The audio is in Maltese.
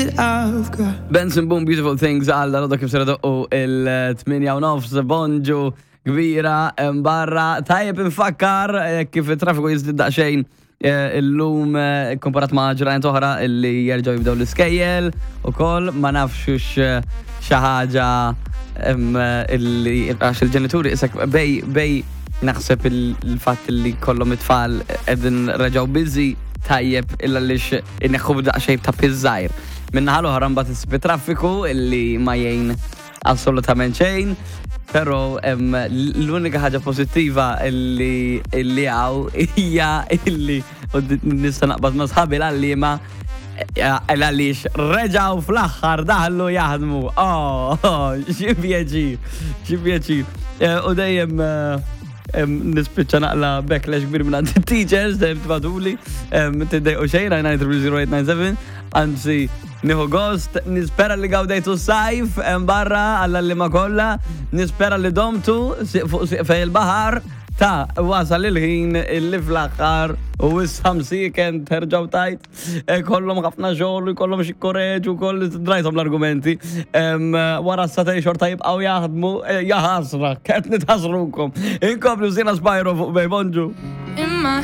that I've got. Benson Boom Beautiful Things għal dal kif sera doqqu il-8 u nofs bonġu kbira barra. Tajjeb infakkar eh, kif it-traffiku jiżdied daqsxejn eh, illum eh, komparat ma' ġranet oħra illi jerġgħu jibdew l-iskejjel ukoll ma nafx xi ħaġa illi għax il-ġenituri isek bej bej naħseb il-fatt li kollhom it-tfal qegħdin reġgħu busy tajjeb illa lix inneħħu b'daqsxejn ta' piż żgħir. Min-naħa l-oħra mbagħad issib traffiku illi ma jgħin assolutament xejn. Però l-unika ħaġa pozittiva illi illi hawn hija illi u nista' naqbad ma' sħabi l-għalliema għaliex reġaw fl-aħħar daħlu jaħdmu. Oh, xi pjaċir, xi pjaċir. U dejjem nispiċċa naqla backlash kbir minn għand teachers, dejjem tibagħtuli, tiddejqu xejn, 9300897, anzi, nieħu gost, nispera li gawdejtu s-sajf barra għall-għalliema kollha, nispera li domtu fuq sieq il-baħar, ta' wasal il-ħin illi fl-aħħar u issa msiken terġgħu tajt kollhom ħafna xogħol u jkollhom xi korreġu koll drajthom l-argumenti. Wara s-satej xorta jibqgħu jaħdmu, jaħasra, qed nitħasrukom. Inkomplu Sina Spyro fuq Bay Bonġu. In my